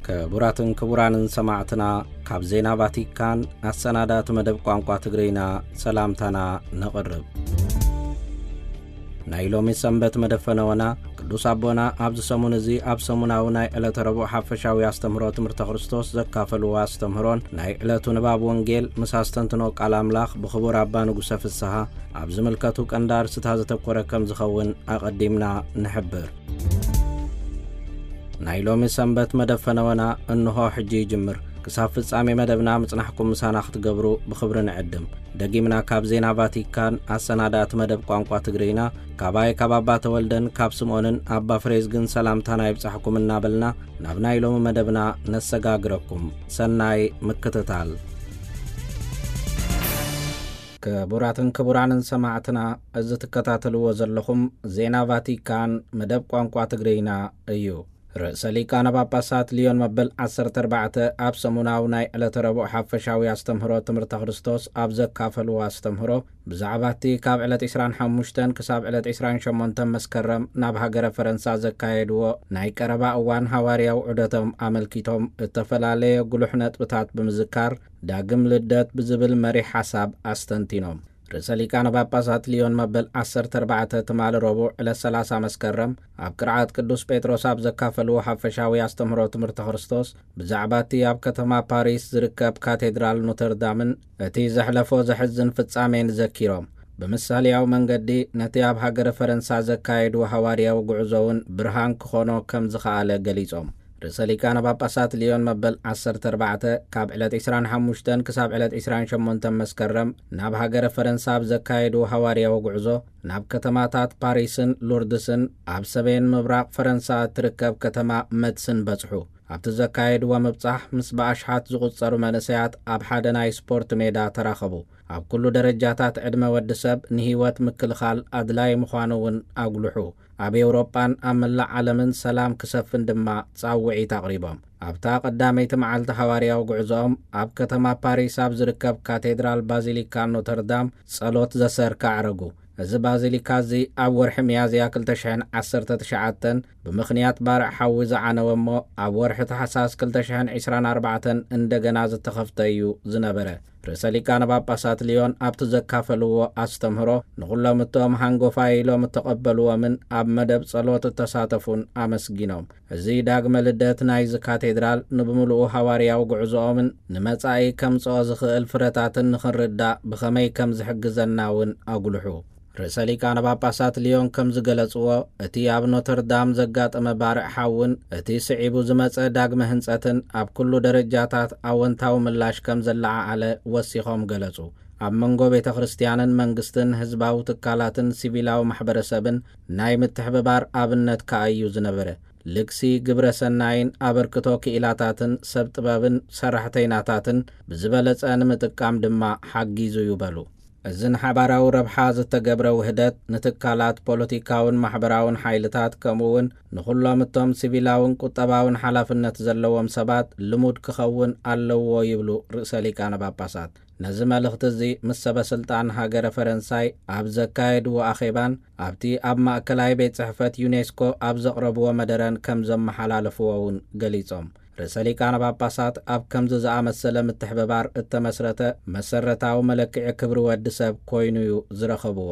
ክቡራትን ክቡራንን ሰማዕትና፣ ካብ ዜና ቫቲካን ኣሰናዳእቲ መደብ ቋንቋ ትግርይና ሰላምታና ነቕርብ። ናይ ሎሚ ሰንበት መደፈነወና፣ ቅዱስ ኣቦና ኣብዚ ሰሙን እዚ ኣብ ሰሙናዊ ናይ ዕለተ ረቡዕ ሓፈሻዊ ኣስተምህሮ ትምህርተ ክርስቶስ ዘካፈልዎ ኣስተምህሮን ናይ ዕለቱ ንባብ ወንጌል ምስ ኣስተንትኖ ቃል ኣምላኽ ብኽቡር ኣባ ንጉሰ ፍስሃ ኣብ ዝምልከቱ ቀንዲ ኣርእስታት ዘተኮረ ከም ዝኸውን ኣቐዲምና ንሕብር። ናይ ሎሚ ሰንበት መደፈነወና እንሆ ሕጂ ይጅምር። ክሳብ ፍጻሜ መደብና ምጽናሕኩም ምሳና ክትገብሩ ብኽብሪ ንዕድም። ደጊምና ካብ ዜና ቫቲካን ኣሰናዳእቲ መደብ ቋንቋ ትግርይና፣ ካባይ ካብ ኣባ ተወልደን ካብ ስምኦንን ኣባ ፍሬዝግን ሰላምታና ይብጻሕኩም እናበልና፣ ናብ ናይ ሎሚ መደብና ነሰጋግረኩም። ሰናይ ምክትታል። ክቡራትን ክቡራንን ሰማዕትና፣ እዚ ትከታተልዎ ዘለኹም ዜና ቫቲካን መደብ ቋንቋ ትግርይና እዩ። ርእሰ ሊቃነ ጳጳሳት ሊዮን መበል ዓሰርተ ኣርባዕተ ኣብ ሰሙናዊ ናይ ዕለተ ረቡዕ ሓፈሻዊ ኣስተምህሮ ትምህርተ ክርስቶስ ኣብ ዘካፈልዎ ኣስተምህሮ፣ ብዛዕባ እቲ ካብ ዕለት ዕስራን ሓሙሽተን ክሳብ ዕለት ዕስራን ሸሞንተን መስከረም ናብ ሃገረ ፈረንሳ ዘካየድዎ ናይ ቀረባ እዋን ሃዋርያዊ ዑደቶም ኣመልኪቶም እተፈላለየ ጉሉሕ ነጥብታት ብምዝካር፣ ዳግም ልደት ብዝብል መሪሕ ሓሳብ ኣስተንቲኖም። ርእሰ ሊቃነ ጳጳሳት ሊዮን መበል ዓሰርተ ኣርባዕተ ትማሊ ረቡዕ ዕለት ሰላሳ መስከረም ኣብ ቅርዓት ቅዱስ ጴጥሮስ ኣብ ዘካፈልዎ ሓፈሻዊ ኣስተምህሮ ትምህርተ ክርስቶስ፣ ብዛዕባ እቲ ኣብ ከተማ ፓሪስ ዝርከብ ካቴድራል ኖተርዳምን እቲ ዘሕለፎ ዘሕዝን ፍጻሜን ዘኪሮም፣ ብምሳሌያዊ መንገዲ ነቲ ኣብ ሃገረ ፈረንሳ ዘካየድዎ ሃዋርያዊ ጉዕዞ እውን ብርሃን ክኾኖ ከም ዝኸኣለ ገሊጾም። ርእሰ ሊቃነ ጳጳሳት ሊዮን መበል ዓሰርተ ኣርባዕተ ካብ ዕለት ዕስራን ሓሙሽተን ክሳብ ዕለት ዕስራን ሸሞንተን መስከረም ናብ ሃገረ ፈረንሳ ኣብ ዘካየድዎ ሃዋርያዊ ጉዕዞ፣ ናብ ከተማታት ፓሪስን ሉርድስን ኣብ ሰሜን ምብራቕ ፈረንሳ እትርከብ ከተማ መትስን በጽሑ። ኣብቲ ዘካየድዎ ምብጻሕ ምስ ብኣሽሓት ዝቑጸሩ መንእሰያት ኣብ ሓደ ናይ ስፖርት ሜዳ ተራኸቡ። ኣብ ኩሉ ደረጃታት ዕድመ ወዲ ሰብ ንህይወት ምክልኻል ኣድላዪ ምዃኑ እውን ኣጉልሑ። ኣብ ኤውሮጳን ኣብ መላእ ዓለምን ሰላም ክሰፍን ድማ ጻውዒት ኣቕሪቦም። ኣብታ ቀዳመይቲ መዓልቲ ሃዋርያዊ ጉዕዞኦም ኣብ ከተማ ፓሪስ ኣብ ዝርከብ ካቴድራል ባዚሊካ ኖተርዳም ጸሎት ዘሰርካ ኣዕረጉ። እዚ ባዚሊካ እዚ ኣብ ወርሒ ሚያዝያ ክልተ ሽሕን ዓሰርተ ትሽዓተን ብምኽንያት ባርዕ ሓዊ ዝዓነወ እሞ፣ ኣብ ወርሒ ታሕሳስ ክልተ ሽሕን ዕስራን ኣርባዕተን እንደገና ዝተኸፍተ እዩ ዝነበረ። ርእሰ ሊቃነ ጳጳሳት ሊዮን ኣብቲ ዘካፈልዎ ኣስተምህሮ፣ ንኹሎም እቶም ሃንጎፋይ ኢሎም እተቐበልዎምን ኣብ መደብ ጸሎት እተሳተፉን ኣመስጊኖም። እዚ ዳግመ ልደት ናይዚ ካቴድራል ንብምሉኡ ሃዋርያዊ ጉዕዞኦምን ንመጻኢ ከምጽኦ ዝኽእል ፍረታትን ንኽንርዳእ ብኸመይ ከም ዝሕግዘና እውን ኣጉልሑ። ርእሰ ሊቃነ ጳጳሳት ሊዮን ከም ዝገለጽዎ፣ እቲ ኣብ ኖተርዳም ዘጋጠመ ባርዕ ሓውን እቲ ስዒቡ ዝመጸ ዳግመ ህንጸትን ኣብ ኩሉ ደረጃታት ኣወንታዊ ምላሽ ከም ዘለዓዓለ ወሲኾም ገለጹ። ኣብ መንጎ ቤተ ክርስቲያንን መንግስትን፣ ህዝባዊ ትካላትን ሲቪላዊ ማሕበረሰብን ናይ ምትሕብባር ኣብነት ከኣ እዩ ዝነበረ። ልግሲ ግብረ ሰናይን ኣበርክቶ ክኢላታትን ሰብ ጥበብን ሰራሕተይናታትን ብዝበለጸ ንምጥቃም ድማ ሓጊዙ እዩ በሉ። እዚ ንሓባራዊ ረብሓ ዝተገብረ ውህደት፣ ንትካላት ፖለቲካውን ማሕበራውን ሓይልታት፣ ከምኡ እውን ንኹሎም እቶም ሲቪላውን ቁጠባውን ሓላፍነት ዘለዎም ሰባት ልሙድ ክኸውን ኣለዎ ይብሉ ርእሰ ሊቃነ ጳጳሳት። ነዚ መልእኽቲ እዚ ምስ ሰበ ስልጣን ሃገረ ፈረንሳይ ኣብ ዘካየድዎ ኣኼባን ኣብቲ ኣብ ማእከላይ ቤት ጽሕፈት ዩኔስኮ ኣብ ዘቕረብዎ መደረን ከም ዘመሓላለፍዎ እውን ገሊጾም። ርእሰ ሊቃነ ጳጳሳት ኣብ ከምዚ ዝኣመሰለ ምትሕብባር እተመስረተ መሰረታዊ መለክዒ ክብሪ ወዲ ሰብ ኮይኑ እዩ ዝረኸብዎ።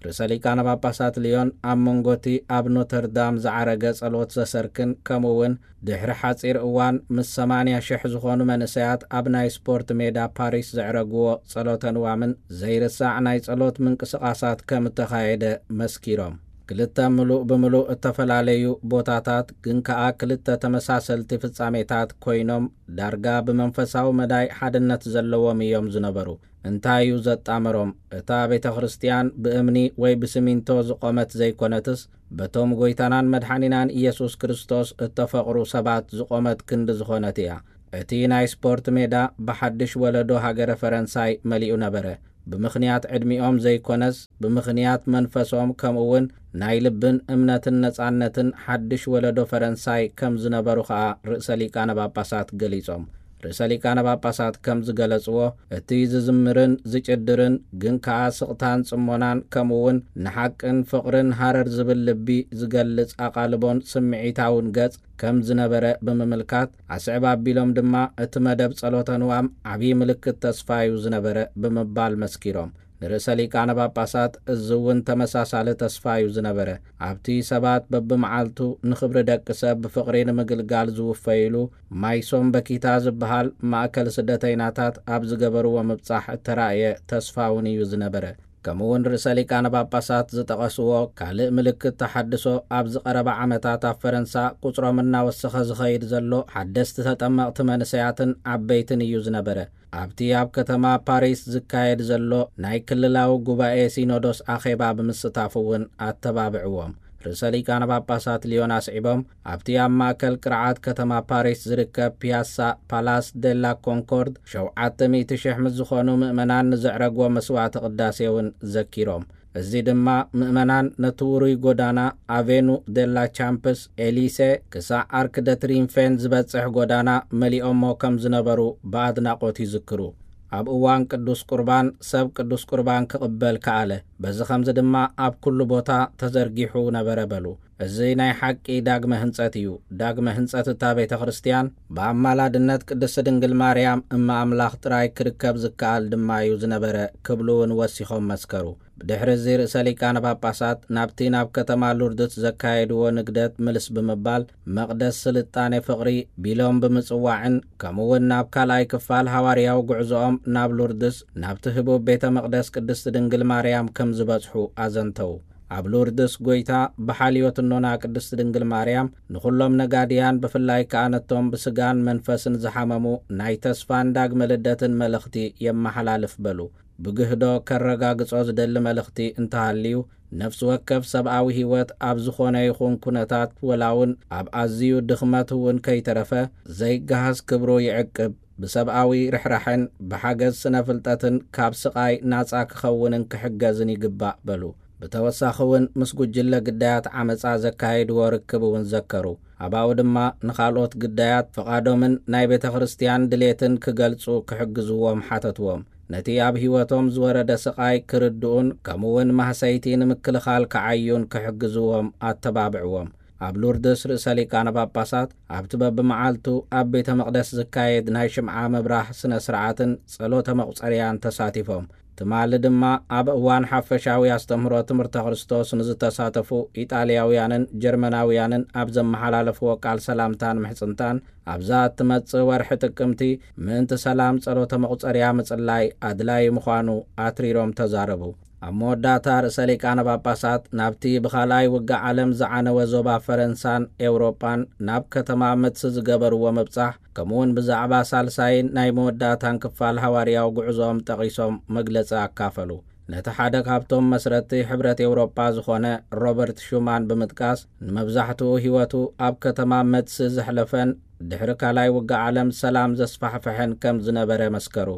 ርእሰ ሊቃነ ጳጳሳት ሊዮን ኣብ መንጎ እቲ ኣብ ኖተርዳም ዝዓረገ ጸሎት ዘሰርክን፣ ከምኡ እውን ድሕሪ ሓጺር እዋን ምስ ሰማንያ ሽሕ ዝኾኑ መንእሰያት ኣብ ናይ ስፖርት ሜዳ ፓሪስ ዘዕረግዎ ጸሎተ ንዋምን ዘይርሳዕ ናይ ጸሎት ምንቅስቓሳት ከም እተኻየደ መስኪሮም። ክልተ ምሉእ ብምሉእ እተፈላለዩ ቦታታት፣ ግን ከኣ ክልተ ተመሳሰልቲ ፍጻሜታት ኮይኖም፣ ዳርጋ ብመንፈሳዊ መዳይ ሓድነት ዘለዎም እዮም ዝነበሩ። እንታይ እዩ ዘጣመሮም? እታ ቤተ ክርስቲያን ብእምኒ ወይ ብሲሚንቶ ዝቖመት ዘይኮነትስ፣ በቶም ጐይታናን መድሓኒናን ኢየሱስ ክርስቶስ እተፈቕሩ ሰባት ዝቖመት ክንዲ ዝኾነት እያ። እቲ ናይ ስፖርት ሜዳ ብሓድሽ ወለዶ ሃገረ ፈረንሳይ መሊኡ ነበረ። ብምኽንያት ዕድሚኦም ዘይኮነስ፣ ብምኽንያት መንፈሶም፣ ከምኡ እውን ናይ ልብን እምነትን ነጻነትን ሓድሽ ወለዶ ፈረንሳይ ከም ዝነበሩ ኸኣ ርእሰ ሊቃነ ጳጳሳት ገሊጾም። ርእሰ ሊቃነ ጳጳሳት ከም ዝገለጽዎ፣ እቲ ዝዝምርን ዝጭድርን ግን ከኣ ስቕታን ጽሞናን ከምኡ እውን ንሓቅን ፍቕርን ሃረር ዝብል ልቢ ዝገልጽ ኣቓልቦን ስምዒታውን ገጽ ከም ዝነበረ ብምምልካት፣ ኣስዕብ ኣቢሎም ድማ እቲ መደብ ጸሎተ ንዋም ዓብዪ ምልክት ተስፋ እዩ ዝነበረ ብምባል መስኪሮም። ንርእሰ ሊቃነ ጳጳሳት እዚ እውን ተመሳሳሊ ተስፋ እዩ ዝነበረ። ኣብቲ ሰባት በብመዓልቱ ንኽብሪ ደቂ ሰብ ብፍቕሪ ንምግልጋል ዝውፈይሉ ማይሶም በኪታ ዝበሃል ማእከል ስደተይናታት ኣብ ዝገበርዎ ምብጻሕ እተራእየ ተስፋ እውን እዩ ዝነበረ። ከምኡ እውን ርእሰ ሊቃነ ጳጳሳት ዝጠቐስዎ ካልእ ምልክት ተሓድሶ ኣብዚ ቀረባ ዓመታት ኣብ ፈረንሳ ቁጽሮም እናወሰኸ ዝኸይድ ዘሎ ሓደስቲ ተጠመቕቲ መንእሰያትን ዓበይትን እዩ ዝነበረ። ኣብቲ ኣብ ከተማ ፓሪስ ዝካየድ ዘሎ ናይ ክልላዊ ጉባኤ ሲኖዶስ ኣኼባ ብምስታፍ እውን ኣተባብዕዎም። ርእሰ ሊቃነ ጳጳሳት ሊዮን ኣስዒቦም፣ ኣብቲ ኣብ ማእከል ቅርዓት ከተማ ፓሪስ ዝርከብ ፒያሳ ፓላስ ዴላ ኮንኮርድ ሸውዓተ ሚእቲ ሽሕ ምስ ዝኾኑ ምእመናን ንዘዕረግዎ መስዋዕተ ቅዳሴ እውን ዘኪሮም። እዚ ድማ ምእመናን ነቲ ውሩይ ጎዳና ኣቬኑ ዴላ ቻምፕስ ኤሊሴ ክሳዕ ኣርክ ደ ትሪንፌን ዝበጽሕ ጎዳና መሊኦሞ ከም ዝነበሩ ብኣድናቖት ይዝክሩ። ኣብ እዋን ቅዱስ ቁርባን ሰብ ቅዱስ ቁርባን ክቕበል ከኣለ። በዚ ኸምዚ ድማ ኣብ ኩሉ ቦታ ተዘርጊሑ ነበረ በሉ። እዚ ናይ ሓቂ ዳግመ ህንጸት እዩ። ዳግመ ህንጸት እታ ቤተ ክርስቲያን ብኣማላድነት ቅድስቲ ድንግል ማርያም እመ ኣምላኽ ጥራይ ክርከብ ዝከኣል ድማ እዩ ዝነበረ ክብሉ እውን ወሲኾም መስከሩ። ብድሕሪ እዚ ርእሰ ሊቃነ ጳጳሳት ናብቲ ናብ ከተማ ሉርድስ ዘካየድዎ ንግደት ምልስ ብምባል መቕደስ ስልጣኔ ፍቕሪ ቢሎም ብምጽዋዕን ከምኡ እውን ናብ ካልኣይ ክፋል ሃዋርያዊ ጉዕዞኦም ናብ ሉርድስ ናብቲ ህቡብ ቤተ መቕደስ ቅድስቲ ድንግል ማርያም ከም ዝበጽሑ ኣዘንተው። ኣብ ሉርድስ ጎይታ ብሓልዮት እኖና ቅድስቲ ድንግል ማርያም ንኹሎም ነጋድያን ብፍላይ ከኣ ነቶም ብስጋን መንፈስን ዝሓመሙ ናይ ተስፋን ዳግመ ልደትን መልእኽቲ የመሓላልፍ በሉ። ብግህዶ ከረጋግጾ ዝደሊ መልእኽቲ እንተሃልዩ፣ ነፍሲ ወከፍ ሰብኣዊ ህይወት ኣብ ዝኾነ ይኹን ኩነታት፣ ወላ እውን ኣብ ኣዝዩ ድኽመት እውን ከይተረፈ፣ ዘይገሃስ ክብሩ ይዕቅብ፣ ብሰብኣዊ ርሕራሐን ብሓገዝ ስነ ፍልጠትን ካብ ስቓይ ናጻ ክኸውንን ክሕገዝን ይግባእ በሉ። ብተወሳኺ እውን ምስ ጉጅለ ግዳያት ዓመጻ ዘካየድዎ ርክብ እውን ዘከሩ። ኣባኡ ድማ ንኻልኦት ግዳያት ፍቓዶምን ናይ ቤተ ክርስቲያን ድሌትን ክገልጹ ክሕግዝዎም ሓተትዎም። ነቲ ኣብ ህይወቶም ዝወረደ ስቓይ ክርድኡን ከምኡ እውን ማህሰይቲ ንምክልኻል ክዓዩን ክሕግዝዎም ኣተባብዕዎም። ኣብ ሉርድስ ርእሰ ሊቃነ ጳጳሳት ኣብቲ በብመዓልቱ ኣብ ቤተ መቕደስ ዝካየድ ናይ ሽምዓ ምብራህ ስነ ስርዓትን ጸሎተ መቑጸርያን ተሳቲፎም። ትማሊ ድማ ኣብ እዋን ሓፈሻዊ ኣስተምህሮ ትምህርተ ክርስቶስ ንዝተሳተፉ ኢጣልያውያንን ጀርመናውያንን ኣብ ዘመሓላለፍዎ ቃል ሰላምታን ምሕጽንታን፣ ኣብዛ እትመጽእ ወርሒ ጥቅምቲ ምእንቲ ሰላም ጸሎተ መቑጸርያ ምጽላይ ኣድላዪ ምዃኑ ኣትሪሮም ተዛረቡ። ኣብ መወዳእታ ርእሰ ሊቃነ ጳጳሳት ናብቲ ብኻልኣይ ውግእ ዓለም ዝዓነወ ዞባ ፈረንሳን ኤውሮጳን ናብ ከተማ መትሲ ዝገበርዎ ምብጻሕ፣ ከምኡውን ብዛዕባ ሳልሳይን ናይ መወዳእታን ክፋል ሃዋርያዊ ጉዕዞኦም ጠቒሶም መግለጺ ኣካፈሉ። ነቲ ሓደ ካብቶም መስረትቲ ሕብረት ኤውሮጳ ዝኾነ ሮበርት ሹማን ብምጥቃስ፣ ንመብዛሕትኡ ህይወቱ ኣብ ከተማ መትሲ ዘሕለፈን ድሕሪ ካልኣይ ውግእ ዓለም ሰላም ዘስፋሕፈሐን ከም ዝነበረ መስከሩ።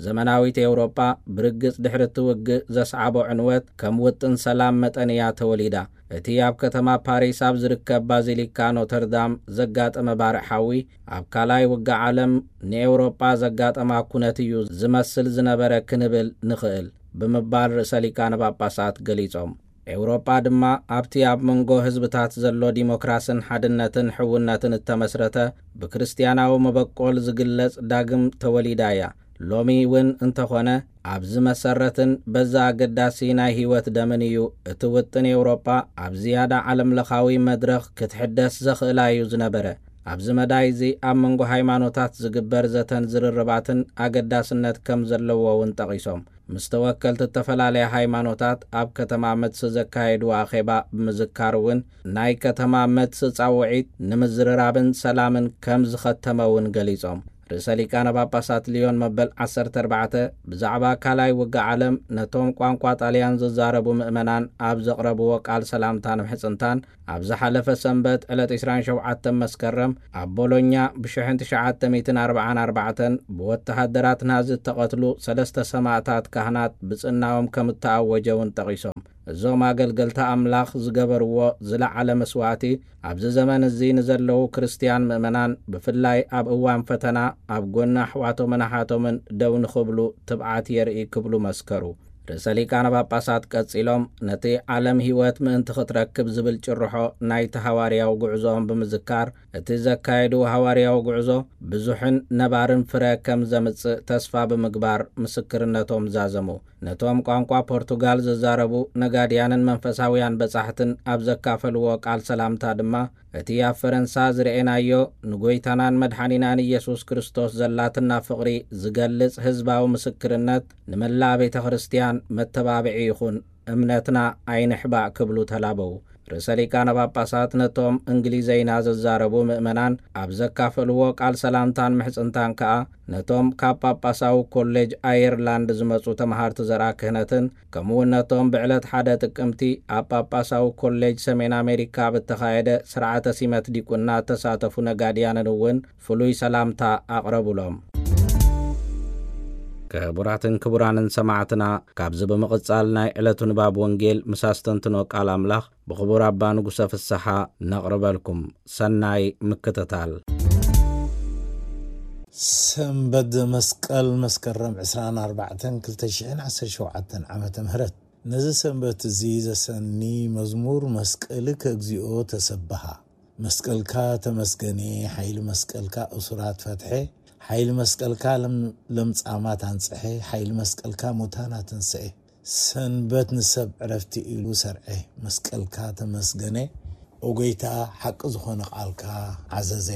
ዘመናዊት ኤውሮጳ ብርግጽ ድሕሪ እቲ ውግእ ዘስዓቦ ዕንወት ከም ውጥን ሰላም መጠን እያ ተወሊዳ። እቲ ኣብ ከተማ ፓሪስ ኣብ ዝርከብ ባዚሊካ ኖተርዳም ዘጋጠመ ባርዕ ሓዊ፣ ኣብ ካልኣይ ውግእ ዓለም ንኤውሮጳ ዘጋጠማ ኩነት እዩ ዝመስል ዝነበረ ክንብል ንኽእል ብምባል ርእሰ ሊቃነ ጳጳሳት ገሊጾም። ኤውሮጳ ድማ ኣብቲ ኣብ መንጎ ህዝብታት ዘሎ ዲሞክራስን ሓድነትን ሕውነትን እተመስረተ ብክርስትያናዊ መበቆል ዝግለጽ ዳግም ተወሊዳ እያ። ሎሚ እውን እንተኾነ ኣብዚ መሰረትን በዛ ኣገዳሲ ናይ ህይወት ደምን እዩ። እቲ ውጥን ኤውሮጳ ኣብ ዝያዳ ዓለምለኻዊ መድረኽ ክትሕደስ ዘኽእላ እዩ ዝነበረ። ኣብዚ መዳይ እዚ ኣብ መንጎ ሃይማኖታት ዝግበር ዘተን ዝርርባትን ኣገዳስነት ከም ዘለዎ እውን ጠቒሶም፣ ምስ ተወከልቲ እተፈላለያ ሃይማኖታት ኣብ ከተማ መትሲ ዘካየድዎ ኣኼባ ብምዝካር እውን፣ ናይ ከተማ መትሲ ጻውዒት ንምዝርራብን ሰላምን ከም ዝኸተመ እውን ገሊጾም። ርእሰ ሊቃነ ጳጳሳት ሊዮን መበል ዓሰርተ ኣርባዕተ ብዛዕባ ካልኣይ ውግእ ዓለም ነቶም ቋንቋ ጣልያን ዝዛረቡ ምእመናን ኣብ ዘቕረብዎ ቃል ሰላምታን ምሕጽንታን፣ ኣብ ዝሓለፈ ሰንበት ዕለት ዕስራን ሸውዓተን መስከረም ኣብ ቦሎኛ ብሽሕን ትሽዓተ ሚእትን ኣርባዓን ኣርባዕተን ብወተሃደራት ናዚ እተቐትሉ ሰለስተ ሰማእታት ካህናት ብጽናኦም ከም እተኣወጀ እውን ጠቒሶም። እዞም ኣገልገልቲ ኣምላኽ ዝገበርዎ ዝለዓለ መስዋእቲ፣ ኣብዚ ዘመን እዚ ንዘለዉ ክርስትያን ምእመናን፣ ብፍላይ ኣብ እዋን ፈተና፣ ኣብ ጎኒ ኣሕዋቶምን ኣሓቶምን ደው ንኽብሉ ትብዓት የርኢ ክብሉ መስከሩ። ርእሰ ሊቃነ ጳጳሳት ቀጺሎም፣ ነቲ ዓለም ህይወት ምእንቲ ክትረክብ ዝብል ጭርሖ ናይቲ ሃዋርያዊ ጉዕዞኦም ብምዝካር፣ እቲ ዘካየድዎ ሃዋርያዊ ጉዕዞ ብዙሕን ነባርን ፍረ ከም ዘምጽእ ተስፋ ብምግባር ምስክርነቶም ዛዘሙ። ነቶም ቋንቋ ፖርቱጋል ዝዛረቡ ነጋድያንን መንፈሳውያን በጻሕትን ኣብ ዘካፈልዎ ቃል ሰላምታ ድማ፣ እቲ ኣብ ፈረንሳ ዝረኤናዮ ንጎይታናን መድሓኒናን ኢየሱስ ክርስቶስ ዘላትና ፍቕሪ ዝገልጽ ህዝባዊ ምስክርነት ንመላእ ቤተ ክርስትያን መተባብዒ ይኹን፣ እምነትና ኣይንሕባእ ክብሉ ተላበዉ። ርእሰ ሊቃነ ጳጳሳት ነቶም እንግሊዘይና ዝዛረቡ ምእመናን ኣብ ዘካፈልዎ ቃል ሰላምታን ምሕጽንታን ከኣ፣ ነቶም ካብ ጳጳሳዊ ኮሌጅ ኣየርላንድ ዝመጹ ተመሃርቲ ዘርኣ ክህነትን፣ ከምኡውን ነቶም ብዕለት ሓደ ጥቅምቲ ኣብ ጳጳሳዊ ኮሌጅ ሰሜን ኣሜሪካ ኣብ እተኻየደ ስርዓተ ሲመት ዲቁና እተሳተፉ ነጋድያንን እውን ፍሉይ ሰላምታ ኣቕረቡሎም። ክቡራትን ክቡራንን ሰማዕትና፣ ካብዚ ብምቕጻል ናይ ዕለቱ ንባብ ወንጌል ምስ ኣስተንትኖ ቃል ኣምላኽ ብኽቡር ኣባ ንጉሰ ፍስሓ ነቕርበልኩም። ሰናይ ምክትታል። ሰንበት ዘመስቀል መስከረም ዕስራን ኣርባዕተን ክልተ ሽሕን ዓሰርተ ሸውዓተን ዓመተ ምህረት። ነዚ ሰንበት እዚ ዘሰኒ መዝሙር መስቀልከ እግዚኦ ተሰብሃ። መስቀልካ ተመስገኔ፣ ሓይሊ መስቀልካ እሱራት ፈትሐ፣ ሓይሊ መስቀልካ ለም-፣ ለምጻማት ኣንጽሐ፣ ሓይሊ መስቀልካ ሙታን ኣተንስኤ። ሰንበት ንሰብ ዕረፍቲ ኢሉ ሰርዐ፣ መስቀልካ ተመስገነ፣ ኦ ጎይታ፣ ሓቂ ዝኾነ ቃልካ ዓዘዘ።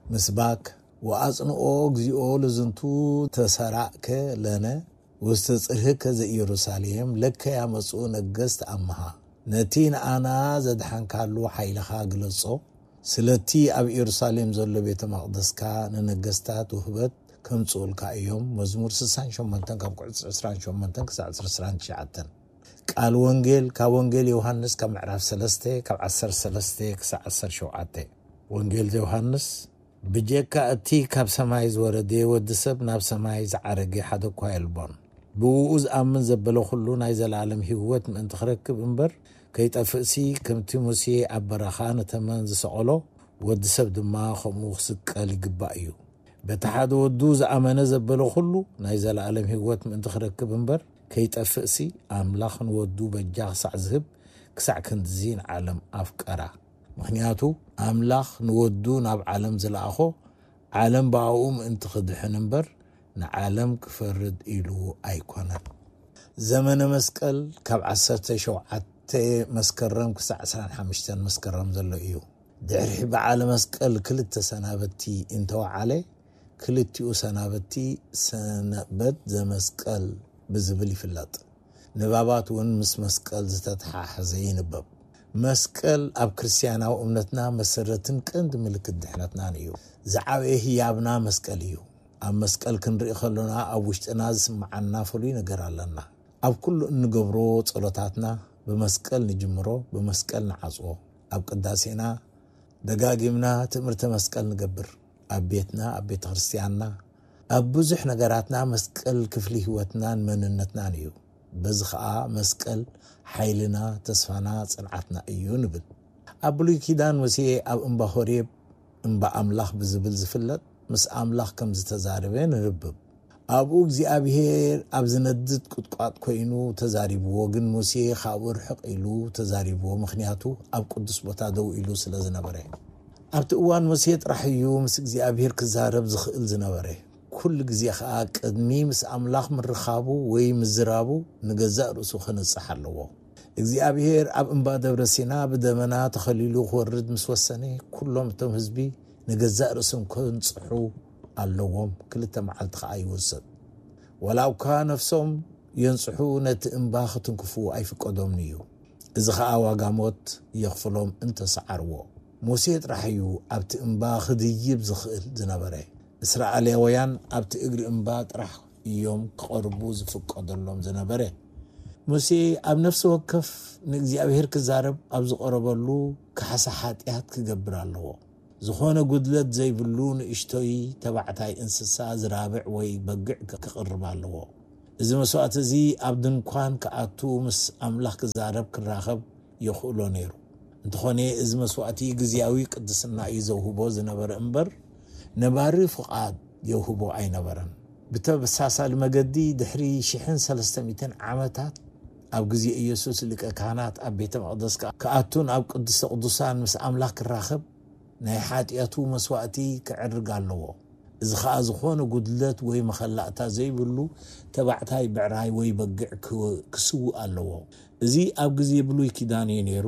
ምስባክ ወኣጽንኦ እግዚኦ ለዝንቱ ተሰራእከ ለነ ውስተ ጽርህከ ዘኢየሩሳሌም ለከ ያመጽኡ ነገስት ኣምሃ። ነቲ ንኣና ዘድሓንካሉ ሓይልኻ ግለጾ። ስለቲ ኣብ ኢየሩሳሌም ዘሎ ቤተ መቕደስካ ንነገስታት ውህበት ከምጽኡልካ እዮም። መዝሙር ስሳን ሸሞንተን ካብ ቁጽሪ ዕስራን ሸሞንተን ክሳዕ ዕስራን ትሽዓተን። ቃል ወንጌል ካብ ወንጌል ዮሃንስ ካብ ምዕራፍ ሰለስተ ካብ ዓሰርተ ሰለስተ ክሳዕ ዓሰርተ ሸውዓተ። ወንጌል ዮሃንስ ብጀካ እቲ ካብ ሰማይ ዝወረደ ወዲ ሰብ ናብ ሰማይ ዝዓረገ ሓደ እኳ የልቦን። ብእኡ ዝኣምን ዘበለ ኩሉ ናይ ዘለኣለም ህይወት ምእንቲ ክረክብ እምበር ከይጠፍእሲ፣ ከምቲ ሙሴ ኣብ በረኻ ንተመን ዝሰቐሎ፣ ወዲ ሰብ ድማ ከምኡ ክስቀል ይግባእ እዩ። በቲ ሓደ ወዱ ዝኣመነ ዘበለ ኩሉ ናይ ዘለኣለም ህይወት ምእንቲ ክረክብ እምበር ከይጠፍእሲ፣ ኣምላኽ ንወዱ በጃ ክሳዕ ዝህብ፣ ክሳዕ ክንድዚ ንዓለም ኣፍቀራ። ምኽንያቱ ኣምላኽ ንወዱ ናብ ዓለም ዝለኣኾ፣ ዓለም ብኣኡ ምእንቲ ክድሕን እምበር ንዓለም ክፈርድ ኢሉ ኣይኮነን። ዘመነ መስቀል ካብ ዓሰርተ ሸውዓተ መስከረም ክሳዕ ዕስራን ሓሙሽተን መስከረም ዘሎ እዩ። ድሕሪ በዓለ መስቀል ክልተ ሰናበቲ እንተወዓለ፣ ክልቲኡ ሰናበቲ ሰንበት ዘመስቀል ብዝብል ይፍለጥ። ንባባት እውን ምስ መስቀል ዝተተሓሓዘ ይንበብ። መስቀል ኣብ ክርስትያናዊ እምነትና መሰረትን ቀንዲ ምልክት ድሕነትናን እዩ። ዝዓበየ ህያብና መስቀል እዩ። ኣብ መስቀል ክንርኢ ከሎና ኣብ ውሽጥና ዝስምዓና ፍሉይ ነገር ኣለና። ኣብ ኩሉ እንገብሮ ጸሎታትና ብመስቀል ንጅምሮ፣ ብመስቀል ንዓጽዎ። ኣብ ቅዳሴና ደጋጊምና ትእምርተ መስቀል ንገብር። ኣብ ቤትና፣ ኣብ ቤተ ክርስትያንና፣ ኣብ ብዙሕ ነገራትና መስቀል ክፍሊ ህይወትናን መንነትናን እዩ። በዚ ኸኣ መስቀል ሓይልና፣ ተስፋና፣ ጽንዓትና እዩ ንብል። ኣብ ብሉይ ኪዳን ሙሴ ኣብ እምባ ሆሬብ፣ እምባ ኣምላኽ ብዝብል ዝፍለጥ፣ ምስ ኣምላኽ ከም ዝተዛረበ ንንብብ። ኣብኡ እግዚኣብሄር ኣብ ዝነድድ ቁጥቋጥ ኮይኑ ተዛሪብዎ፣ ግን ሙሴ ካብኡ ርሕቕ ኢሉ ተዛሪብዎ፣ ምኽንያቱ ኣብ ቅዱስ ቦታ ደው ኢሉ ስለ ዝነበረ። ኣብቲ እዋን ሙሴ ጥራሕ እዩ ምስ እግዚኣብሄር ክዛረብ ዝኽእል ዝነበረ። ኩሉ ግዜ ኸኣ ቅድሚ ምስ ኣምላኽ ምርኻቡ ወይ ምዝራቡ ንገዛእ ርእሱ ከነጽሕ ኣለዎ። እግዚኣብሄር ኣብ እምባ ደብረ ሲና ብደመና ተኸሊሉ ክወርድ ምስ ወሰነ፣ ኩሎም እቶም ህዝቢ ንገዛእ ርእሶም ከንጽሑ ኣለዎም። ክልተ መዓልቲ ኸኣ ይወሰድ። ዋላ እኳ ነፍሶም የንጽሑ፣ ነቲ እምባ ክትንክፉ ኣይፍቀዶምን እዩ። እዚ ኸኣ ዋጋ ሞት የኽፍሎም እንተሰዓርዎ። ሙሴ ጥራሕ እዩ ኣብቲ እምባ ክድይብ ዝኽእል ዝነበረ። እስራኤላውያን ኣብቲ እግሪ እምባ ጥራሕ እዮም ክቐርቡ ዝፍቀደሎም ዝነበረ። ሙሴ ኣብ ነፍሲ ወከፍ ንእግዚኣብሔር ክዛረብ ኣብ ዝቐረበሉ ካሕሳ ሓጢኣት ክገብር ኣለዎ። ዝኾነ ጉድለት ዘይብሉ ንእሽቶይ ተባዕታይ እንስሳ ዝራብዕ ወይ በግዕ ክቕርብ ኣለዎ። እዚ መስዋእቲ እዚ ኣብ ድንኳን ክኣቱ፣ ምስ ኣምላኽ ክዛረብ፣ ክራኸብ የኽእሎ ነይሩ። እንተኾነ፣ እዚ መስዋእቲ ግዝያዊ ቅድስና እዩ ዘውህቦ ዝነበረ እምበር፣ ነባሪ ፍቓድ የውህቦ ኣይነበረን። ብተመሳሳሊ መገዲ፣ ድሕሪ ሽሕን ሰለስተ ሚእትን ዓመታት፣ ኣብ ግዜ ኢየሱስ ሊቀ ካህናት ኣብ ቤተ መቕደስ ክኣቱን ኣብ ቅድስተ ቅዱሳን ምስ ኣምላኽ ክራኸብ፣ ናይ ሓጢኣቱ መስዋእቲ ክዕርግ ኣለዎ። እዚ ኸኣ ዝኾነ ጉድለት ወይ መኸላእታ ዘይብሉ ተባዕታይ ብዕራይ ወይ በጊዕ ክስውእ ኣለዎ። እዚ ኣብ ግዜ ብሉይ ኪዳን እዩ ነይሩ።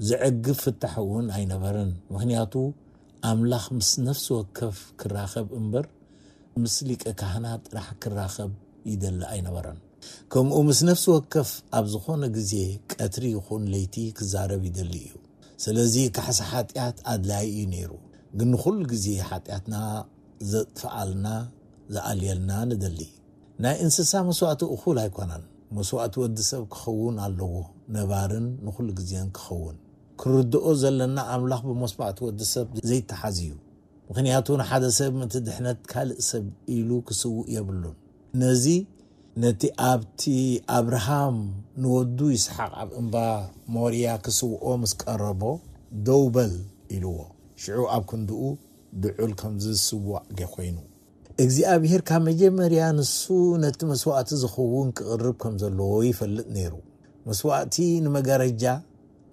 ዘዕግብ ፍታሕ እውን ኣይነበረን። ምኽንያቱ ኣምላኽ ምስ ነፍሲ ወከፍ ክራኸብ እምበር ምስ ሊቀ ካህናት ጥራሕ ክራኸብ ይደሊ ኣይነበረን። ከምኡ ምስ ነፍሲ ወከፍ ኣብ ዝኾነ ግዜ ቀትሪ ይኹን ለይቲ ክዛረብ ይደሊ እዩ። ስለዚ ካሕሳ ሓጢኣት ኣድላዪ እዩ ነይሩ። ግን ንኹሉ ግዜ ሓጢኣትና ዘጥፍኣልና፣ ዝኣልየልና ንደሊ። ናይ እንስሳ መስዋእቲ እኹል ኣይኮነን። መስዋእቲ ወዲ ሰብ ክኸውን ኣለዎ፣ ነባርን ንኹሉ ግዜን ክኸውን። ክርድኦ ዘለና ኣምላኽ ብመስዋእቲ ወዲ ሰብ ዘይተሓዝ እዩ። ምኽንያቱ ንሓደ ሰብ ምእንቲ ድሕነት ካልእ ሰብ ኢሉ ክስውእ የብሉን። ነዚ ነቲ ኣብቲ ኣብርሃም ንወዱ ይስሓቅ ኣብ እምባ ሞርያ ክስውኦ ምስ ቀረቦ፣ ደው በል ኢልዎ። ሽዑ ኣብ ክንድኡ ድዑል ከም ዝስዋእ ኮይኑ። እግዚኣብሔር ካብ መጀመርያ ንሱ ነቲ መስዋእቲ ዝኸውን ክቕርብ ከም ዘለዎ ይፈልጥ ነይሩ። መስዋእቲ ንመጋረጃ፣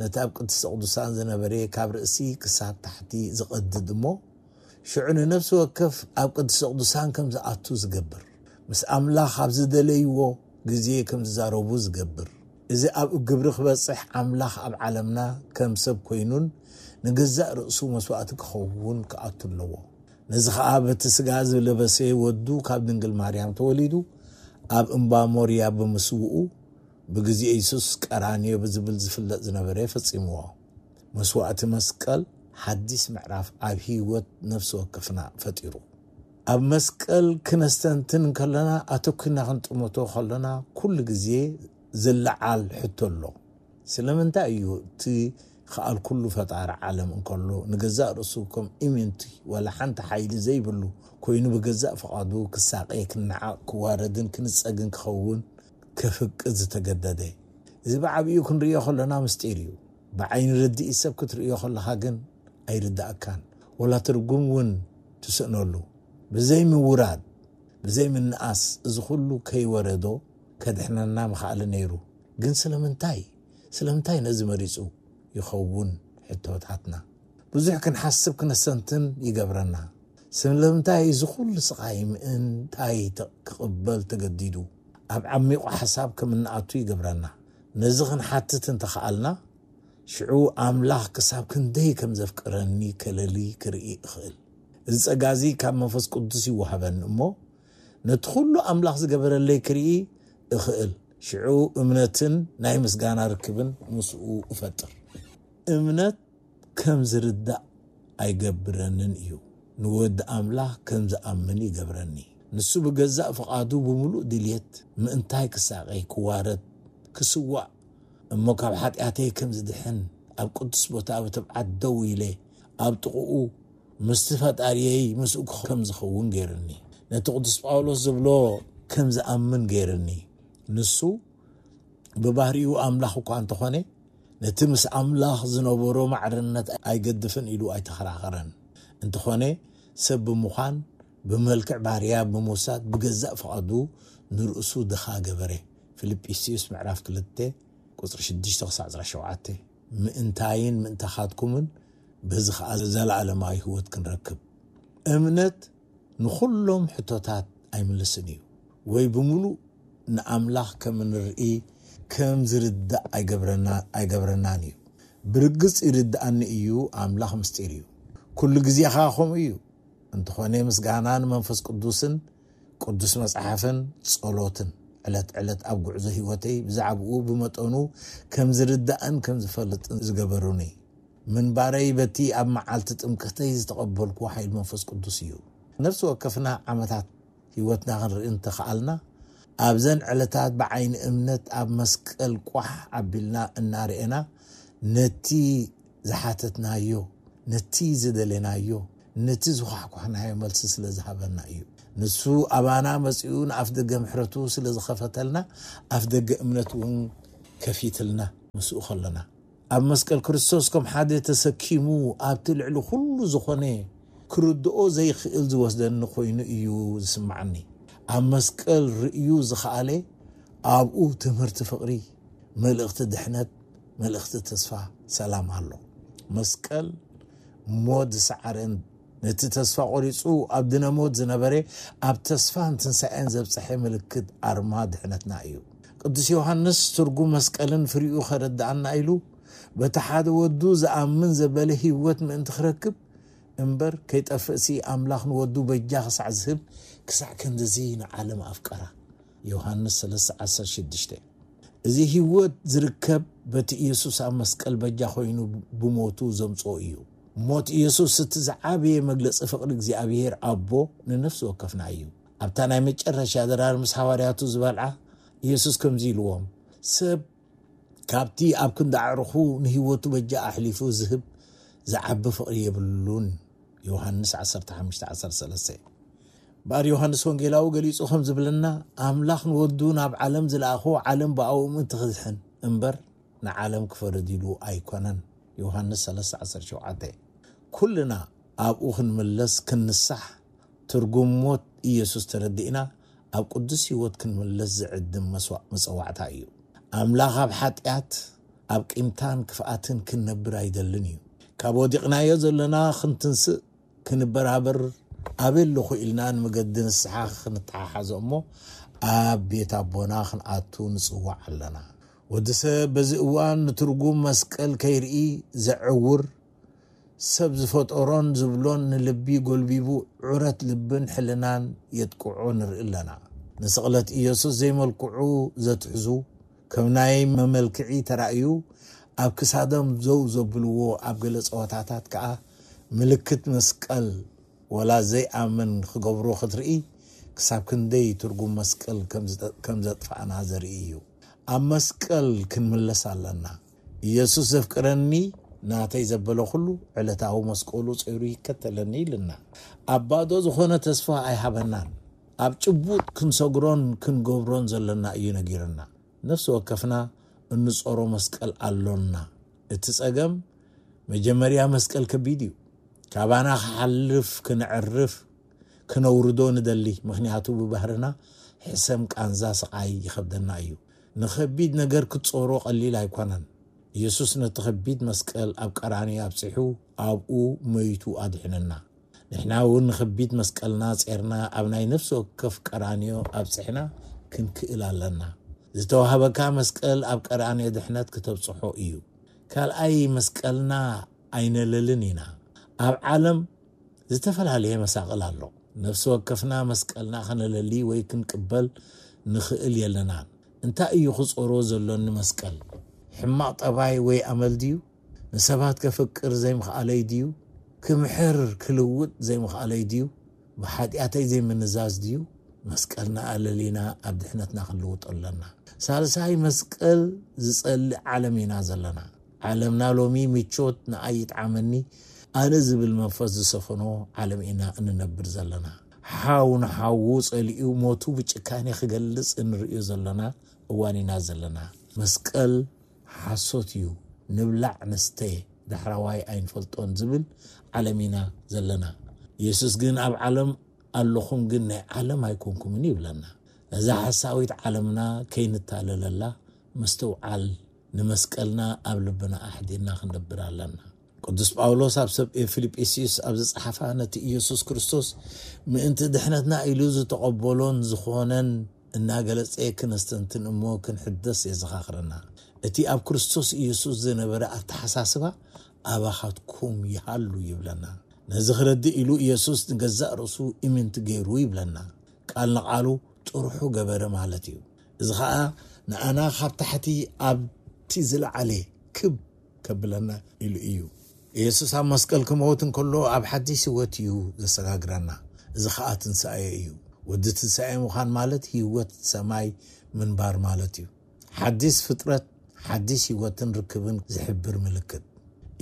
ነቲ ኣብ ቅድስተ ቅዱሳን ዝነበረ ካብ ርእሲ ክሳብ ታሕቲ ዝቐድድ እሞ፣ ሽዑ ንነፍሲ ወከፍ ኣብ ቅድስተ ቅዱሳን ከም ዝኣቱ ዝገብር፣ ምስ ኣምላኽ ኣብ ዝደለይዎ ግዜ ከም ዝዛረቡ ዝገብር፣ እዚ ኣብ ግብሪ ክበጽሕ ኣምላኽ ኣብ ዓለምና ከም ሰብ ኮይኑን ንገዛእ ርእሱ መስዋእቲ ክኸውን ክኣቱ ኣለዎ። ነዚ ኸኣ በቲ ስጋ ዝለበሰ ወዱ ካብ ድንግል ማርያም ተወሊዱ ኣብ እምባ ሞርያ ብምስውኡ፣ ብግዜ የሱስ ቀራንዮ ብዝብል ዝፍለጥ ዝነበረ ፈጺምዎ። መስዋእቲ መስቀል ሓዲስ ምዕራፍ ኣብ ህይወት ነፍሲ ወከፍና ፈጢሩ። ኣብ መስቀል ክነስተንትን ከለና፣ ኣተኲርና ክንጥምቶ ከለና፣ ኩሉ ግዜ ዝለዓል ሕቶ ኣሎ። ስለምንታይ እዩ እቲ ከኣል ኩሉ ፈጣሪ ዓለም እንከሎ፣ ንገዛእ ርእሱ ከም ኢምንቲ ዋላ ሓንቲ ሓይሊ ዘይብሉ ኮይኑ፣ ብገዛእ ፍቓዱ ክሳቐ፣ ክነዓቕ፣ ክዋረድን ክንጸግን ክኸውን ክፍቅድ ዝተገደደ? እዚ ብዓቢኡ ክንርእዮ ከለና ምስጢር እዩ። ብዓይኒ ርድኢት ሰብ ክትርእዮ ከለኻ ግን ኣይርድኣካን፣ ወላ ትርጉም እውን ትስእነሉ። ብዘይ ምውራድ፣ ብዘይ ምንኣስ፣ እዚ ኩሉ ከይወረዶ ከድሕነና ምኽኣለ ነይሩ። ግን ስለምንታይ? ስለምንታይ ነዚ መሪጹ ይኸውን? ሕቶታትና ብዙሕ ክንሓስብ ክነስተንትን ይገብረና። ስለምንታይ እዚ ኩሉ ስቓይ ምእንታይ ተ-፣ ክቕበል ተገዲዱ? ኣብ ዓሚቑ ሓሳብ ከም እንኣቱ ይገብረና። ነዚ ክንሓትት እንተኸኣልና፣ ሽዑ ኣምላኽ ክሳብ ክንደይ ከም ዘፍቅረኒ ከለሊ ክርኢ እኽእል። እዚ ጸጋ እዚ ካብ መንፈስ ቅዱስ ይወሃበኒ እሞ፣ ነቲ ኩሉ ኣምላኽ ዝገበረለይ ክርኢ እኽእል። ሽዑ እምነትን ናይ ምስጋና ርክብን ምስኡ እፈጥር። እምነት ከም ዝርዳእ ኣይገብረንን እዩ። ንወዲ ኣምላኽ ከም ዝኣምን ይገብረኒ። ንሱ ብገዛእ ፍቓዱ ብምሉእ ድልየት ምእንታይ ክሳቐይ፣ ክዋረድ፣ ክስዋእ፣ እሞ ካብ ሓጢኣተይ ከም ዝድሕን፣ ኣብ ቅዱስ ቦታ ብትብዓት ደው ኢለ ኣብ ጥቕኡ ምስቲ ፈጣሪየይ ምስኡ ከም ዝኸውን ገይርኒ። ነቲ ቅዱስ ጳውሎስ ዝብሎ ከም ዝኣምን ገይርኒ። ንሱ ብባህሪኡ ኣምላኽ እኳ እንተኾነ፣ ነቲ ምስ ኣምላኽ ዝነበሮ ማዕርነት ኣይገድፍን ኢሉ ኣይተኸራኸረን። እንተኾነ፣ ሰብ ብምዃን፣ ብመልክዕ ባርያ ብምውሳድ፣ ብገዛእ ፍቓዱ ንርእሱ ድኻ ገበረ። ፊልጵስዩስ ምዕራፍ ክልተ ቁጽሪ ሽዱሽተ ክሳዕ ዕስራን ሸውዓተን። ምእንታይን ምእንታኻትኩምን፣ በዚ ኸኣ ዘለኣለማዊ ህይወት ክንረክብ። እምነት ንኹሎም ሕቶታት ኣይምልስን እዩ፣ ወይ ብምሉእ ንኣምላኽ ከም እንርኢ ከም ዝርዳእ ኣይገብረና-፣ ኣይገብረናን እዩ። ብርግጽ ይርድኣኒ እዩ፣ ኣምላኽ ምስጢር እዩ። ኩሉ ግዜ ኸኣ ከምኡ እዩ። እንተኾነ ምስጋና ንመንፈስ ቅዱስን ቅዱስ መጽሓፍን ጸሎትን ዕለት ዕለት ኣብ ጉዕዞ ህይወተይ ብዛዕባኡ ብመጠኑ ከም ዝርዳእን ከም ዝፈልጥን ዝገበሩኒ። ምንባረይ በቲ ኣብ መዓልቲ ጥምቀተይ ዝተቐበልኩዎ ሓይሊ መንፈስ ቅዱስ እዩ። ነፍሲ ወከፍና ዓመታት ህይወትና ክንርኢ እንተኸኣልና፣ ኣብዘን ዕለታት ብዓይኒ እምነት ኣብ መስቀል ቋሕ ኣቢልና እናርኤና፣ ነቲ ዝሓተትናዮ፣ ነቲ ዝደለናዮ፣ ነቲ ዝኳሕኳሕናዮ መልሲ ስለ ዝሃበና እዩ። ንሱ ኣባና መጺኡ ንኣፍ ደገ ምሕረቱ ስለ ዝኸፈተልና፣ ኣፍ ደገ እምነት እውን ከፊትልና ምስኡ ከለና። ኣብ መስቀል ክርስቶስ ከም ሓደ ተሰኪሙ ኣብቲ ልዕሊ ኩሉ ዝኾነ ክርድኦ ዘይክእል ዝወስደኒ ኮይኑ እዩ ዝስምዓኒ። ኣብ መስቀል ርእዩ ዝኸኣለ ኣብኡ ትምህርቲ ፍቕሪ፣ መልእኽቲ ድሕነት፣ መልእኽቲ ተስፋ፣ ሰላም ኣሎ። መስቀል ሞት ዝሰዓረን ነቲ ተስፋ ቆሪጹ ኣብ ድነ ሞት ዝነበረ ኣብ ተስፋን ትንሳኤን ዘብጽሐ ምልክት ኣርማ ድሕነትና እዩ። ቅዱስ ዮሃንስ ትርጉም መስቀልን ፍሪኡ ከረድኣና ኢሉ በቲ ሓደ ወዱ ዝኣምን ዘበለ ህይወት ምእንቲ ክረክብ እምበር ከይጠፍእሲ ኣምላኽ ንወዱ በጃ ክሳዕ ዝህብ ክሳዕ ክንድዚ ንዓለም ኣፍቀራ። ዮሃንስ ሰለስተ ዓሰርተ ሽዱሽተ። እዚ ህይወት ዝርከብ በቲ ኢየሱስ ኣብ መስቀል በጃ ኮይኑ ብሞቱ ዘምጽኦ እዩ። ሞት ኢየሱስ እቲ ዝዓበየ መግለጺ ፍቕሪ እግዚኣብሔር ኣቦ ንነፍሲ ወከፍና እዩ። ኣብታ ናይ መጨረሻ ድራር ምስ ሃዋርያቱ ዝበልዓ ኢየሱስ ከምዚ ኢልዎም፣ ሰብ ካብቲ ኣብ ክንዲ ኣዕርኹ ንህይወቱ በጃ ኣሕሊፉ ዝህብ ዝዓቢ ፍቕሪ የብሉን። ዮሃንስ ዓሰርተ ሓሙሽተ ዓሰርተ ሰለስተ። እምበኣር ዮሃንስ ወንጌላዊ ገሊጹ ከም ዝብለና፣ ኣምላኽ ንወዱ ናብ ዓለም ዝለኣኾ ዓለም ብኣኡ ምእንቲ ክድሕን እምበር ንዓለም ክፈርድ ኢሉ ኣይኮነን። ዮሃንስ ሰለስተ ዓሰርተ ሸውዓተ። ኩልና ኣብኡ ክንምለስ ክንንሳሕ ትርጉም ሞት ኢየሱስ ተረዲእና ኣብ ቅዱስ ህይወት ክንምለስ ዝዕድም መስዋ-፣ መጸዋዕታ እዩ። ኣምላኽ ኣብ ሓጢኣት ኣብ ቂምታን ክፍኣትን ክንነብር ኣይደልን እዩ። ካብ ወዲቕናዮ ዘለና ክንትንስእ ክንበራበር ኣበይ ኣለኹ ኢልና ንመገዲ ንስሓ ክንተሓሓዞ እሞ ኣብ ቤት ኣቦና ክንኣቱ ንጽዋዕ ኣለና። ወዲ ሰብ በዚ እዋን ንትርጉም መስቀል ከይርኢ ዘዕውር ሰብ ዝፈጠሮን ዝብሎን ንልቢ ጎልቢቡ ዑረት ልብን ሕልናን የጥቅዖ ንርኢ ኣለና። ንስቕለት ኢየሱስ ዘይመልክዑ ዘትሕዙ ከም ናይ መመልክዒ ተራእዩ ኣብ ክሳዶም ዘው ዘብልዎ ኣብ ገለ ጸወታታት ከኣ ምልክት መስቀል ወላ ዘይኣምን ክገብሮ ክትርኢ ክሳብ ክንደይ ትርጉም መስቀል ከም ዝጠ-፣ ከም ዘጥፋእና ዘርኢ እዩ። ኣብ መስቀል ክንምለስ ኣለና። ኢየሱስ ዘፍቅረኒ ናተይ ዘበለ ኩሉ ዕለታዊ መስቀሉ ጾይሩ ይከተለኒ ኢልና። ኣብ ባዶ ዝኾነ ተስፋ ኣይሃበናን። ኣብ ጭቡጥ ክንሰግሮን ክንገብሮን ዘለና እዩ ነጊርና። ነፍሲ ወከፍና እንጾሮ መስቀል ኣሎና። እቲ ጸገም መጀመርያ መስቀል ከቢድ እዩ። ካባና ክሓልፍ ክነዕርፍ ክነውርዶ ንደሊ፣ ምኽንያቱ ብባህርና ሕሰም ቃንዛ ስቓይ ይኸብደና እዩ። ንኸቢድ ነገር ክትጾሮ ቀሊል ኣይኮነን። ኢየሱስ ነቲ ከቢድ መስቀል ኣብ ቀራንዮ ኣብጺሑ ኣብኡ መይቱ ኣድሕነና። ንሕና እውን ንኸቢድ መስቀልና ጼርና ኣብ ናይ ነፍሲ ወከፍ ቀራንዮ ኣብጺሕና ክንክእል ኣለና። ዝተዋህበካ መስቀል ኣብ ቀራንዮ ድሕነት ክተብጽሖ እዩ። ካልኣይ መስቀልና ኣይነለልን ኢና። ኣብ ዓለም ዝተፈላለየ መሳቕል ኣሎ። ነፍሲ ወከፍና መስቀልና ከነለሊ ወይ ክንቅበል ንኽእል የለናን። እንታይ እዩ ክጾሮ ዘሎኒ መስቀል? ሕማቕ ጠባይ ወይ ኣመል ድዩ? ንሰባት ከፍቅር ዘይምኽኣለይ ድዩ? ክምሕር ክልውጥ ዘይምኽኣለይ ድዩ? ብሓጢኣተይ ዘይምንዛዝ ድዩ? መስቀልና ኣለሊና ኣብ ድሕነትና ክንልውጦ ኣለና። ሳልሳይ መስቀል ዝጸልእ ዓለም ኢና ዘለና። ዓለምና ሎሚ ምቾት ንኣይ ይጥዓመኒ ኣነ ዝብል መንፈስ ዝሰፈኖ ዓለም ኢና እንነብር ዘለና። ሓው ንሓዉ ጸሊኡ ሞቱ ብጭካኔ ክገልጽ እንርእዮ ዘለና እዋን ኢና ዘለና። መስቀል ሓሶት እዩ፣ ንብላዕ ንስተ ዳሕራዋይ ኣይንፈልጦን ዝብል ዓለም ኢና ዘለና። ኢየሱስ ግን ኣብ ዓለም ኣለኹም ግን ናይ ዓለም ኣይኮንኩምን ይብለና። ነዛ ሓሳዊት ዓለምና ከይንታለለላ ምስትውዓል ንመስቀልና ኣብ ልብና ኣሕዲርና ክንነብር ኣለና። ቅዱስ ጳውሎስ ኣብ ሰብ ፊልጵስዩስ ኣብ ዝጸሓፋ ነቲ ኢየሱስ ክርስቶስ ምእንቲ ድሕነትና ኢሉ ዝተቐበሎን ዝኾነን እናገለጸ ክነስተንትን እሞ ክንሕደስ የዘኻኽረና። እቲ ኣብ ክርስቶስ ኢየሱስ ዝነበረ ኣተሓሳስባ ኣባኻትኩም ይሃሉ ይብለና። ነዚ ክረድእ ኢሉ ኢየሱስ ንገዛእ ርእሱ ኢምንት ገይሩ ይብለና። ቃል ንቓሉ ጥርሑ ገበረ ማለት እዩ። እዚ ኸኣ ንኣና ካብ ታሕቲ ኣብቲ ዝለዓለ ክብ ከብለና ኢሉ እዩ። ኢየሱስ ኣብ መስቀል ክመውት እንከሎ ኣብ ሓድሽ ህይወት እዩ ዘሰጋግረና። እዚ ኸኣ ትንሳኤ እዩ። ወዲ ትንሳኤ ምዃን ማለት ህይወት ሰማይ ምንባር ማለት እዩ። ሓድሽ ፍጥረት፣ ሓድሽ ህይወትን ርክብን ዝሕብር ምልክት።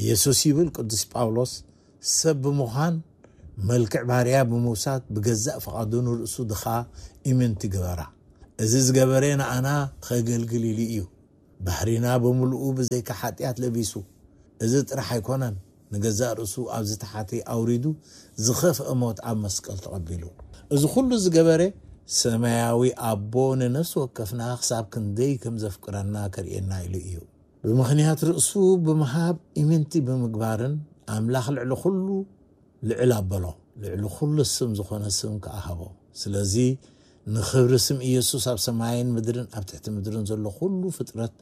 ኢየሱስ ይብል ቅዱስ ጳውሎስ፣ ሰብ ብምዃን መልክዕ ባርያ ብምውሳድ ብገዛእ ፍቓዱ ንርእሱ ድኻ ኢምንቲ ገበራ። እዚ ዝገበረ ንኣና ኸገልግል ኢሉ እዩ። ባህሪና ብምልኡ ብዘይካ ሓጢኣት ለቢሱ። እዚ ጥራሕ ኣይኮነን፣ ንገዛእ ርእሱ ኣብ ዝተሓተ ኣውሪዱ ዝኸፍአ ሞት ኣብ መስቀል ተቐቢሉ። እዚ ኩሉ ዝገበረ ሰማያዊ ኣቦ ንነፍሲ ወከፍና ክሳብ ክንደይ ከም ዘፍቅረና ከርእየና ኢሉ እዩ። ብምኽንያት ርእሱ ብምሃብ ኢምንቲ ብምግባርን ኣምላኽ ልዕሊ ኩሉ ልዕል ኣበሎ፣ ልዕሊ ኩሉ ስም ዝኾነ ስም ከኣ ሃቦ። ስለዚ ንኽብሪ ስም ኢየሱስ ኣብ ሰማይን ምድርን ኣብ ትሕቲ ምድርን ዘሎ ኩሉ ፍጥረት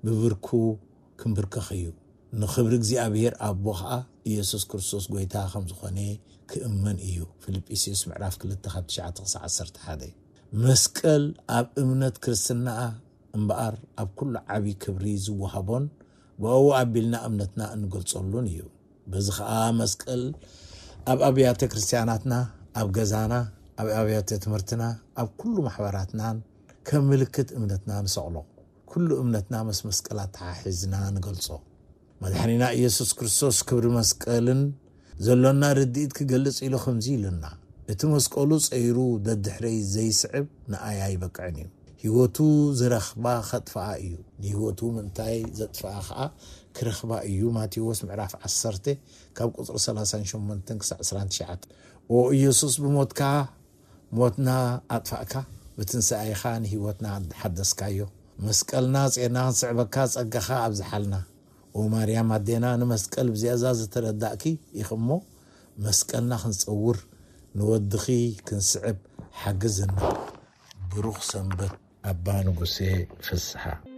ብብርኩ ክንብርከኽ እዩ። ንኽብሪ እግዚኣብሔር ኣቦ ኸኣ ኢየሱስ ክርስቶስ ጐይታ ከም ዝኾነ ክእመን እዩ። ፊልጵስዩስ ምዕራፍ ክልተ ካብ ትሽዓተ ክሳዕ ዓሰርተ ሓደ። መስቀል ኣብ እምነት ክርስትና እምበኣር ኣብ ኩሉ ዓቢ ክብሪ ዝወሃቦን ብእኡ ኣቢልና እምነትና እንገልጸሉን እዩ። በዚ ኸኣ መስቀል ኣብ ኣብያተ ክርስቲያናትና፣ ኣብ ገዛና፣ ኣብ ኣብያተ ትምህርትና፣ ኣብ ኩሉ ማሕበራትናን ከም ምልክት እምነትና ንሰቕሎ። ኩሉ እምነትና ምስ መስቀል ኣተሓሒዝና ንገልጾ። መድሓኒና ኢየሱስ ክርስቶስ ክብሪ መስቀልን ዘሎና ርድኢት ክገልጽ ኢሉ ከምዚ ኢሉና፣ እቲ መስቀሉ ጸይሩ ደድሕረይ ዘይስዕብ ንኣይ ኣይበቅዕን እዩ። ህይወቱ ዝረኽባ ኸጥፍኣ እዩ፣ ንህይወቱ ምእንታይ ዘጥፍኣ ኸኣ ክረኽባ እዩ። ማቴዎስ ምዕራፍ ዓሰርተ ካብ ቁጽሪ ሰላሳን ሸሞንተን ክሳዕ ዕስራን ትሽዓተ። ኦ ኢየሱስ፣ ብሞትካ ሞትና ኣጥፋእካ፣ ብትንሳኤኻ ንህይወትና ሓደስካዮ። መስቀልና ጼና ክንስዕበካ ጸጋኻ ኣብዝሓልና። ኦ ማርያም ኣዴና፣ ንመስቀል ብዚያዛ ዝተረዳእኪ ኢኺ እሞ፣ መስቀልና ክንጸውር ንወድኺ ክንስዕብ ሓግዝና። ብሩኽ ሰንበት ኣባ ንጉሴ ፍስሓ።